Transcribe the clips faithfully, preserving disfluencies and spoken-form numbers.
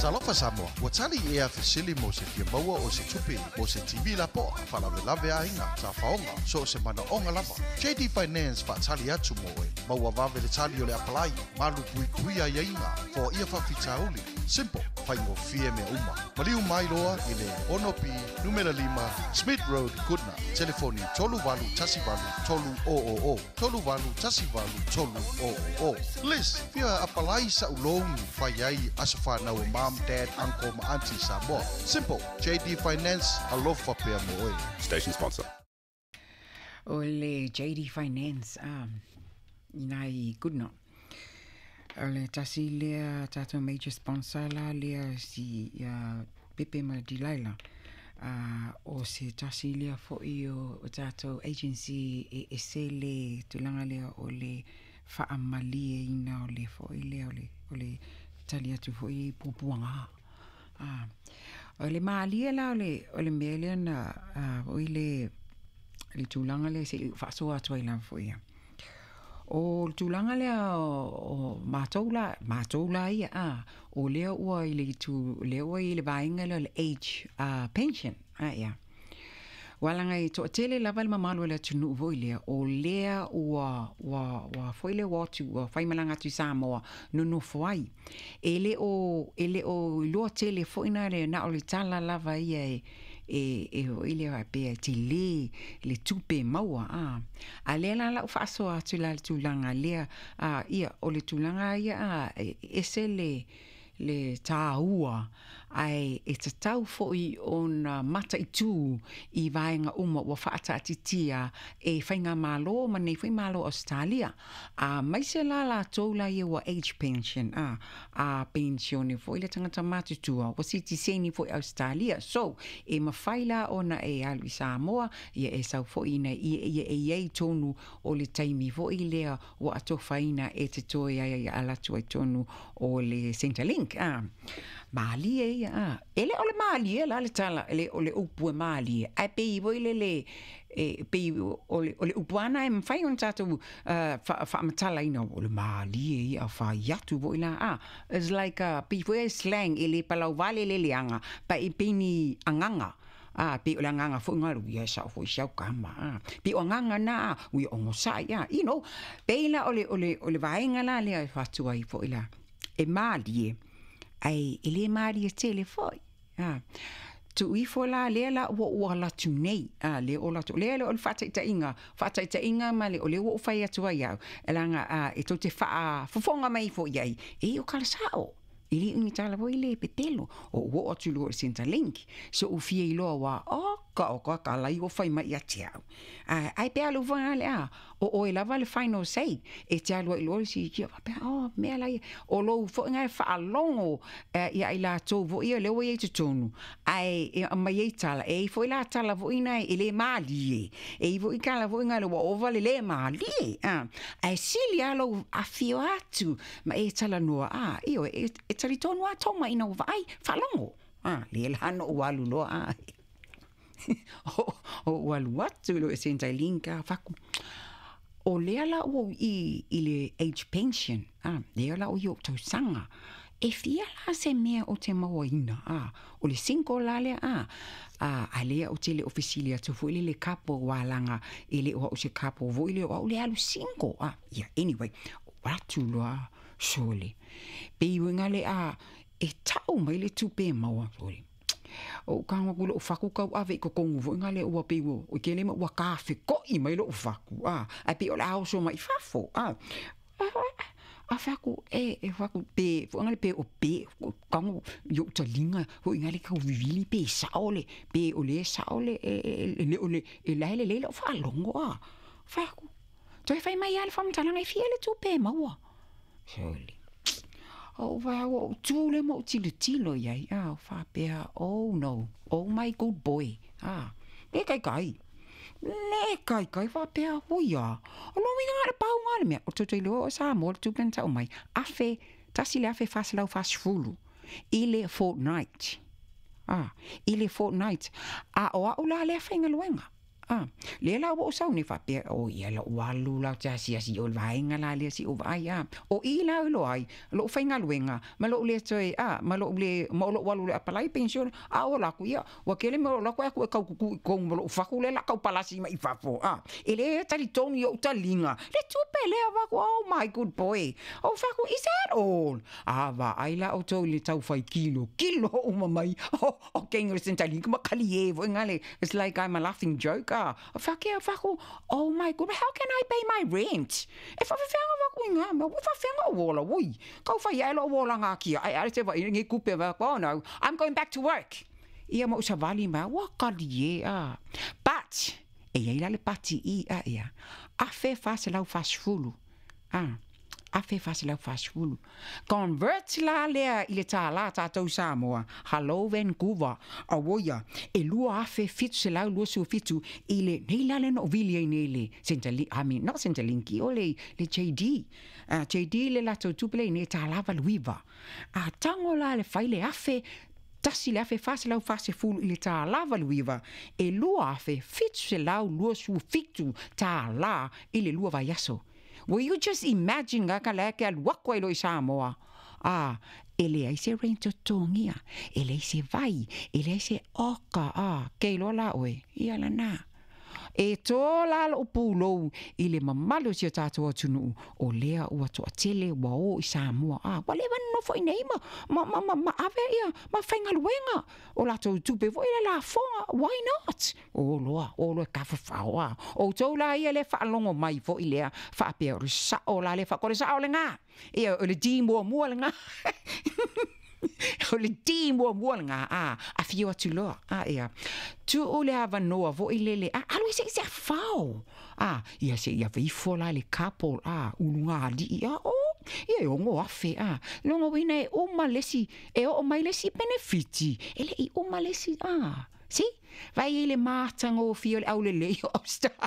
Talofa Samoa, ua tali ea fesili mo se fia maua o se tupe mo se T V lapoa, faalavelave aiga, tafaoga, so o se manaoga lava. J D Finance faatali atu mo oe, maua vave le tali o le apalai, malu puipui aiaiga, foaia faafitauli. Simple, faigofie mea uma. Maliu mai loa i le ono P, numera lima, Smith Road, Goodna. Telefoni tolu valu tasi valu tolu o o o. Tolu valu tasi valu tolu o o o. Liz, fia apalai sa ulogi fai ai aso whanau o mom, dad, uncle ma auntie Samoa. Simple, J D Finance, alofa pea mo oe. Station sponsor. O le J D Finance, um, inai Goodna. O le tasi lea tātou major sponsor la lea si uh, Pepe ma Delilah. Uh, o se tasi lea foi o, o tātou agency e ese le tulaga lea o le faamalie ina o le foi lea o le, o le tali atu foi i puapuaga. Ah, o le malie la o le, o le mea lea na uh, o i le, le tulaga lea se faasoa atu ai lava foi ia. O le tulaga lea o, o mātou la, mātou la ia, ah, o lea ua i le itu, lea ua i le vaega lea o le age uh, pension, ah, ia. Walanga i toatele lava le mamalu o le atunuu foi lea, o lea ua, ua, ua foi lea ua atu, ua whaimalanga atu i Samoa, nonofo ai. E le o, e le o iloa tele foi na le na o le tala lava ia e, e, e hoi lea pea te le, le tupe maua, ah. A lea la lau faasoa atu la le tulaga lea, ah, ia, o le tulaga ia, ah, e, ese le, le tāua, ai e tatau foi ona mataitu i vaega uma ua faataatitia e whainga malo ma nei whai malo Australia. A maise la latou la ia ua age pension, a, a pensione foi le tangata matutua, ua sitiseni foi Australia. So, e mawhai la ona e alu i Samoa, ia e sau foi ina, ia, ia e iei tonu o le taimi foi lea ua atofaina e te toe ai ai alatu ai tonu o le Centrelink. Ah, malie ia, ah. E le o le malie la le tala, le o le upu e malie. Ai pei voi le le, e pei o le, o le upu ana e mwhai ona tātou, uh, wha, whaamatala ina, o le malie ia, whai atu voi la, ah. It's like, uh, pei voi e slang, e le palau vale le leanga, pa e pei ni anganga. Ah, pe o le anganga foi ngaru, ia sa foi siau kama, ah. Pe o anganga na, ah, ui o ngosai, ah. You know, pei la o le, o le, o le vaenga la lea e whatua i foi la. E malie, ai e le malie tele foi. Ah. Tu ifo la lea la ua ua latu nei. Ah, le o latu. Lea le o le whataitainga. Whataitainga ma le o le ua o whai atu ai au. E langa, ah, e tau te wha, fofonga mai fo iai. E o kala sao. E le ungi tala voi le pepelo. O ua o atu loa o Centrelink. So u fia i loa wa, o ka o ka ka lai o whai mai ia te au. Ah, ai pe alu wha le a. O o e lava le final say. E te alu ai loa si kia wapea, oh, mea lai. O lo fo ngai whaalongo, eh, ia i la tau vo ia le o ia te tonu. Ai, e mai e tala. E fo i la tala vo ina e le malie. E i vo i kala vo inga le wa ova le le malie. Ah, ai sili alo a fio atu. Ma e tala noa, ah, iyo, e, e tali tonu a toma ina ua ai, whaalongo. Ah, le lano o alu loa, ah. O, o alu atu lo e Centrelink, ah, whaku. O lea la o i, i le age pension, ah, lea la o i o tausanga. E fia la se mea o te maua ina, ah, o le sinko la lea, ah, ah, a lea o te le ofisili atu foi le le kapo walanga, e le o au se kapo voi le o au le alu sinko, ah, yeah, anyway, o atu loa, sole. Pe iwenga le a, e tau mai le tupe maua, sole. O kanga ku lo faku kau ave ko kongu vo ngale o pe wo o kele ma wa kafe ko i mai lo faku a a pe o la o so mai fafo a a faku e e faku pe vo ngale pe o pe kango yo talinga vo ngale ka vivili pe saole pe o le saole e le o le e la le le lo fa longo a faku toi fai mai al fam talanga e fiele tu pe maua sole. O vai o tu le mo tilo tilo iai a whapea, oh no, oh my good boy, ah, le kai kai, le kai kai whapea, oi a, o no winga ngā le pau ngā le mea, o tō loa o Samoa le tupena tau mai, afe, tasi le afe whasalau whasfulu, i le fortnight, ah, i le fortnight, a o au la lea whainga luenga, A lea la ua ou sau nei faapea, o ia loʻu alu la ou te asiasi i o i le vaega la lea se i ou vaai, a o i la e iloa ai loʻu faigaluega ma loʻu le toe, a ma loʻu le ma o loʻu alu loa e apalai penisione a ou alu atu, ia ua tele mea o loʻu alu atu ae o atu e taututu i totonu ma loʻu fatu lea o le a tau palasi mai i fafo, a e le talitonu i oʻu taliga le tupe lea avatu. Oh my good boy, ou fai atu, is that all? A vaai la outou i le taufai kilokilo uma mai o keiga o le Centrelink ma kaliē foi gale. It's like I'm a laughing joke, a fake faku, oh my good, how can I pay my rent? E faafefeaga vaku i gā mea ua faafeaga ou ola ui kau fai ae loʻu olaga akia ae ale se vaai lenei kupe va. Oh no, I'm going back to work. Ia ma ou savali mai ua kaliē, a but e iai la le pati i a ia afe faselau fasefulu, a afe faselau fasefulu convert la lea i le tālā tātou Samoa. Hello Vancouver, auoia e lua afe fitu selau luasefulu fitu i le nei la le na ou vili ai nei le Centrelink, I mean not Centrelink, o le le J D, uh, J D le latou tupe le nei tālā valuiva a tago la le fai le afe tasi le afe faselau fasefulu i le tālā valuiva e lua afe fitu selau luasefulu fitu tālā i le lua vaiaso. Will you just imagine ga ka le ke alu aku ai loa i Samoa? A e leai se rent totogia, e leai se vai, e leai se oka, a ke iloa la oe ia lanā e tō la loʻu pulou i le mamalu o si o tatou atunuu o lea ua toʻatele ua o i Samoa, a ua leva nonofo i nei ma, ma, ma, ma, ma ave ia ma faigaluega o latou tupe foi le lafoga. Why not? O loa o loa e tafafao a outou la ia le faalogo mai foi lea faapea o le saʻo la le faakole saʻo legā ia o le di muamua legā o le di muamua legā a afio atu loa a ia tuu le avanoa foʻi lele a alu e seʻi se afao a ia seʻi ave ifo la le couple a uluga aliʻi a o ia e ogo afe a logo uina e uma lesi e oo mai lesi penefiti e leʻi uma lesi a si vai ai le matagofie o le aulelei o Australia.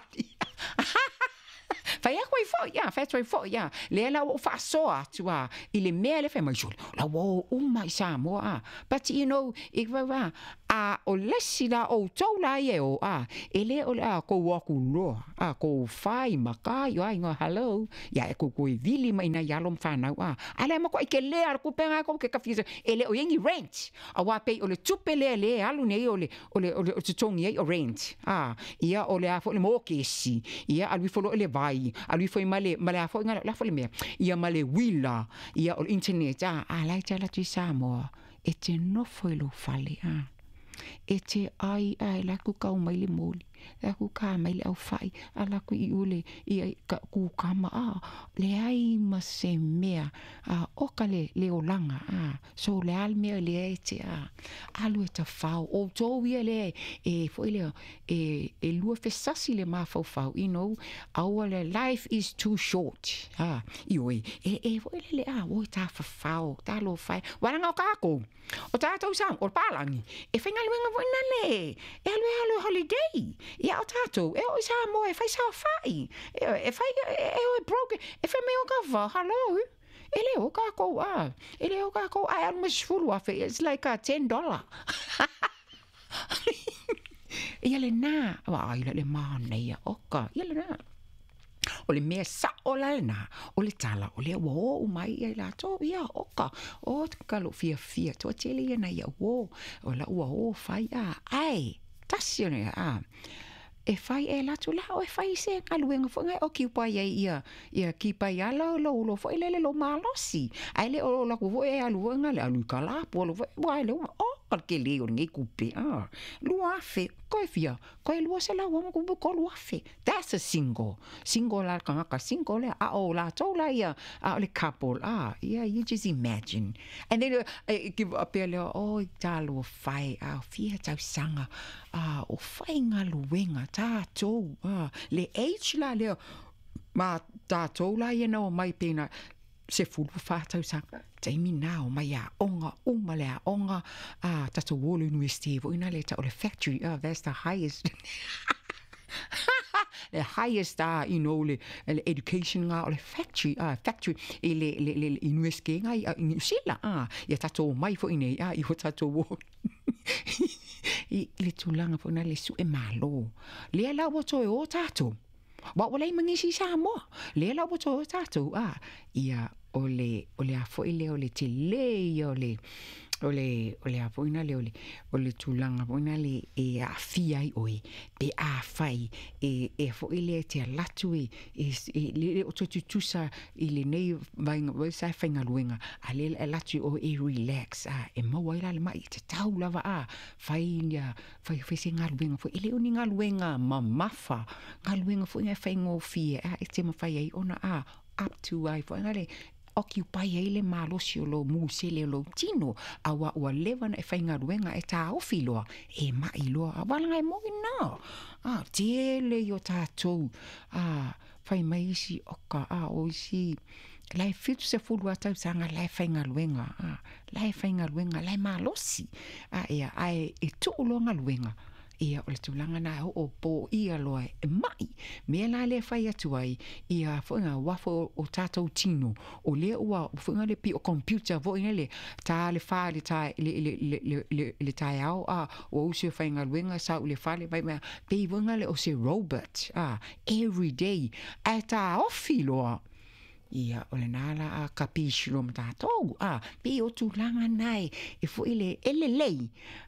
Fai aku ai foʻi a fai atu ai foʻi a lea la ua ou faasoa atu a i le mea le fai mai sole la ua o uma i Samoa a. But you know i va a o lesi la outou la ia e o a e lē o le a kou aku loa a kou fai ma kai o aiga. Hello, ia e kou e vili mai nai alo ma fanau a a le makuaʻi kelē a le kupega kou ke kafia e lē o iai ni rent auā pei o le tupe lea lē alu nei o le o le o le totogi ai o rent a ia o le a foʻi le mokesi ia alu ifo loa i le vai alu ifo i ma le ma le a foʻi la foʻi le mea ia ma le uila ia o le internet a a la e te ala atu i Samoa e te nofo i lou fale a e te ai ae la ku kau mai le moli la ku ka mai le aufaʻi a la ku iu le ia ka kukama a leai ma se mea a oka le le olaga a so le a le mea lea e te a alu e tafao outou ia lea e foʻi lea e e lua fesasi le mafaufau you know aua le life is too short a ioe e e foʻi le le a oi tafafao talofa e uaga o kākou o tatou sa o le palagi e faigaluega foi na le e alu e alu e holiday ia o tatou e oo i Samoa e fai saofaʻi e e fai e o e broke e fai mai o kava. Hello, e lē o kākou a e lē o kākou ae alu ma se sefulu afe. It's like a ten dollar ia lenā vaai la le manaia oka ia lenā o le mea saʻo la lenā o le tala o lea ua oo mai ia i latou ia oka o ka lou fiafia toatele ia nai au uō o lau ua o fai a ae tasi o le a e fai e alu atu la o e fai se galuega foʻi ga e occupy ai ia ia keep ai ala lou lo foʻi lele lou malosi ae le o laku foʻi e alu foʻi gale alu i kalapu alu foʻi ua e le uma o ka le kelē o lenei kupe a lua afe koe fia koe lua selau ama kupe kolu afe. That's a single single la kagaka single lea a o latou la ia a o le couple a yeah, you just imagine. And then uh, give up lea oi talofa e a fia tausaga a o faigaluega tatou a le age la lea ma tatou la ia na o mai pena sefulu fa tausaga taimi na o mai aoga uma le aoga a tatou o le university foʻi na le tau o le factory. Ah, that's the highest the highest uh, you know le, le education nga o le factory uh, factory i le le le, le university nga i New Zealand a ia tatou mai foʻi nei a i o tatou o I le tulaga foi na le suʻe mālō lea la ua toe o tatou ua ua leai ma nisi i Samoa lea la ua toe o tatou a ia o le o le a foi lea o le telē ia o le o le o le a foi na le o le o le tulaga foi na le e aafia ai oe pe afai e e foi lea e te alu atu e e e le o toe tutusa i lenei vaega foi sa e faigaluega a lea e alu atu oe e relax a e maua ai la le maʻi tatau lava a fai ia fai fai se galuega foi e le o ni galuega mamafa galuega foi e faigofie a e te mafai ai ona a up to ai foi le occupy ai le malosi o lou musele o lou tino auā ua leva ona e faigaluega e taofi loa e maʻi loa a valaga e moi na a tele i o tatou a fai mai isi oka a o isi la e fitu sefulu a tausaga la e faigaluega a la e faigaluega la e malosi a ia ae e tuu loa galuega ia o le tulaga na e oo poia loa e maʻi mea la lea fai atu ai ia foʻiga uafo o tatou tino o lea ua foʻiga le pei o computer foi le ta le fa le ta le le le le le taeao a ua usu e faigaluega sau i le fale mai mea pei foʻiga le o se robot a every day ae taofi loa ia o lenā la a kapisi loa ma tatou a pei o tulaga na e e foi le e lelei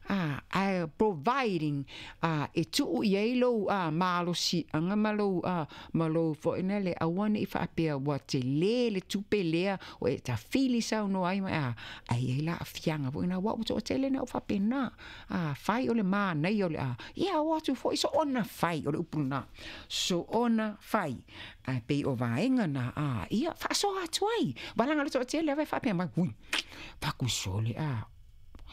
a ae providing a e tuu i ai lou a malosiaga ma lou a ma lou foi na le aua nei faapea ua telē le tupe lea o e tafili saunoa ai ma a ai ai la aafiaga foi na ua ua toatele na o faapena a fai o le manaia o le a ia o atu foi soona fai o le upu lena soona fai ae pei o vaega na a ia faasoa atu ai valaga le toatele ava e faapea mai ui fakusole a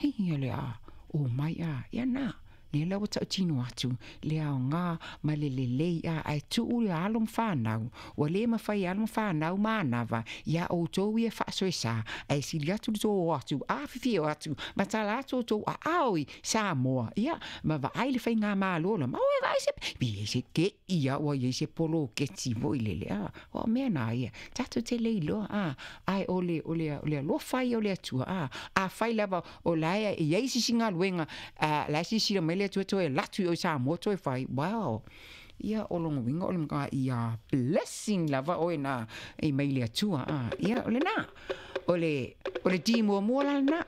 ia le a o mai a ia na lea la ua tautino atu le aogā ma le lelei a ae tuu le alo ma fanau ua lē mafai e alo ma fanau manava iā outou ia faasoesā ae sili atu le tou o atu afifio atu ma tala atu outou aao i Samoa ia ma vaai le faigamālō la ma oe vaai se pe i ai se keʻi a ua iai se poloketi foi lele a o mea na ia tatou te le iloa a ae o le o le o le alofa ia o le Atua a afai lava o la e iai se isi galuega a la e silasila mai le Atua toe alu atu i o i Samoa toe fai wow ia o lona uiga o le matua ia blessing lava oe na e mai le Atua a ia o lenā o le o le ti muamua la lenā.